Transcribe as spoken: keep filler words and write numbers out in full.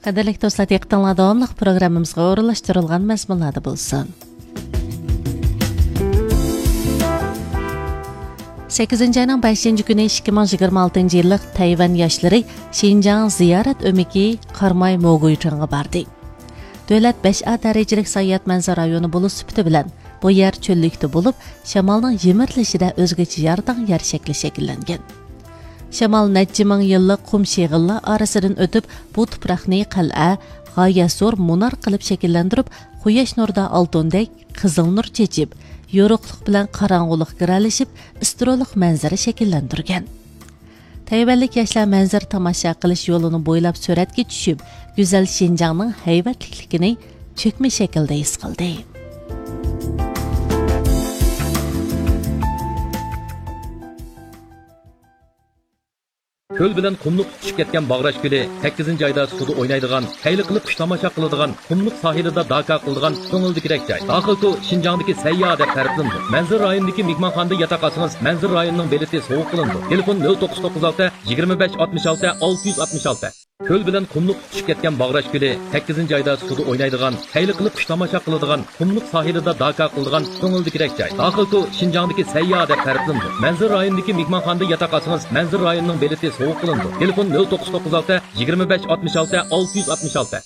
قەدىرلىك دوستلار، دىققىتىڭلار داۋاملىق پروگراممىمىزغا ئورۇنلاشتۇرۇلغان مەزمۇنلاردا بولسۇن. سەككىزىنچى ئاينىڭ بەشىنچى كۈنى ئىككى مىڭ يىگىرمە ئالتىنچى يىللىق تەيۋەن ياشلىرى شىنجاڭ زىيارەت ئۆمىكى قاراماي موگۇيچىڭغا باردى. دۆلەت بەش ئا دەرىجىلىك ساياھەت مەنزىرە رايونى بولۇش سۈپىتى بىلەن، بۇ يەر چۆللۈكتە بولۇپ، شامالنىڭ يىمىرىلىشىدە ئۆزگىچە يارىداڭ يەر شەكلى شەكىللەنگەن. شامال نەچچە مىڭ يىللىق قۇم شېغىللار ئارىسىدىن ئۆتۈپ، بۇ تۇپراقنى قەلئە، غايەت زور مۇنار قىلىپ شەكىللەندۈرۈپ، قۇياش نۇرىدا ئالتۇندەك قىزىل نۇر چېچىپ، يورۇقلۇق بىلەن قاراڭغۇلۇق گىرەلىشىپ، ئىسترولۇق مەنزىرە شەكىللەندۈرگەن. تەيۋەنلىك ياشلار مەنزىرە تاماشا قىلىش يولىنى بويلاپ سۈرەتكە چۈشۈپ، گۈزەل شىنجاڭنىڭ ھەيۋەتلىكلىكىنى چۆكمە شەكىلدە ھېس قىلدى. كۆل بىلەن قۇملۇق تۇتىشىپ كەتكەن باغراش كۆلى، سەككىزىنچى ئايدا سۇدا ئوينايدىغان، خەيلى قىلىپ قۇش تاماشا قىلىدىغان، قۇملۇق ساھىلىدا داكا قىلىدىغان كۆڭۈلدىكىدەك جاي. داخىل تو شىنجاڭدىكى سەيياھ دەپ تەرىپلىنىدۇ. مەنزىرە رايونىدىكى مېھمانخانىدا ياتاق ئالسىڭىز، مەنزىرە رايونىنىڭ بېلىتى سوۋغا قىلىنىدۇ. تېلېفون: نۆل توققۇز توققۇز ئالتە، يىگىرمە بەش ئاتمىش ئالتە، ئالتە يۈز ئاتمىش ئالتە. كۆل بىلەن قۇملۇق تۇتۇشۇپ كەتكەن باغراش كۆلى، سەككىزىنچى ئايدا سۇدا ئوينايدىغان، خەيلى قىلىپ قۇش تاماشا قىلىدىغان، قۇملۇق ساھىلىدا داكا قىلىدىغان كۆڭۈلدىكىدەك جاي. داخىل تو شىنجاڭدىكى سەيياھ دەپ تەرىپلىنىدۇ. مەنزىرە رايونىدىكى مېھمانخانىدا ياتاق ئالسىڭىز، مەنزىرە رايونىنىڭ بېلىتى سوۋغا قىلىنىدۇ. تېلېفون: نۆل توققۇز توققۇز ئالتە، يىگىرمە بەش ئاتمىش ئالتە، ئالتە يۈز ئاتمىش ئالتە.